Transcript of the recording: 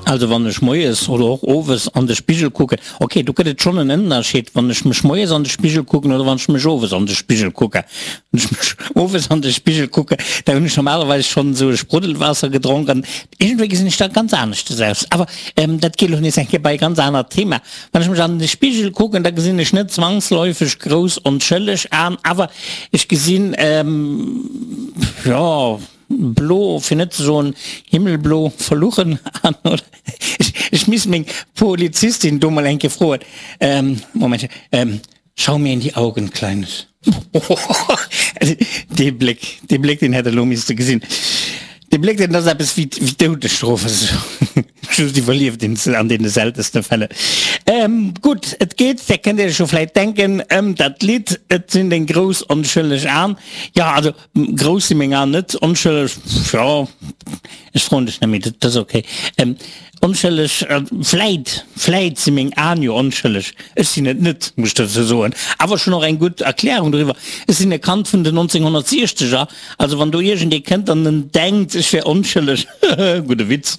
Also wann ech moies oder och owes an de Spigel kucken, ok, do gëtt et schonn en Ënnerscheed, wann ech mech moies an de Spigel kucken oder wann ech mech owes an de Spigel kucken. Wann ech mech owes an de Spigel kucken, da hunn ech normalerweis schonn esou e Spruddelwaasser gedronk an iergendwéi gesinn ech da ganz aneschtes aus. Awer dat geet elo nees eng Kéier bei e ganz anert Thema. Wann ech mech an de Spigel kucken, da gesinn ech net zwangsläufeg grouss onschëlleg an, awer ech gesinn, jo, Blo, fir net ze soen himmelblo verluchen an, oder? Ech misst meng Polizistin do mol eng Kéier froen. Momentchen, Schau mir in die Augen, Kleines. Dee Bléck, dee Bléck, deen hätt Der elo misste gesinn. Dee Bléck, deen ass eppes wéi d'Doudesstrof. Just iwwerlieft een se an deene seltenste Fälle. Gutt, et geet, där kënnt Iech jo vläit denken, ëm dat Lidd Et sinn deng grouss onschëlleg An. Jo, also Grouss si meng Aen net, onschëlleg, jo, ech froen dech net méi, dat ass ok. Onschëlleg, vläit, vläit si meng Aen jo onschëlleg, ech sinn et net, muss ech dozou soen. Awer ech hunn och eng gutt Erklärung doriwwer, ech sinn e Kand vun den 1960er, also wann do iergendee kënnt an en denkt, ech wär onschëlleg, gudde Witz.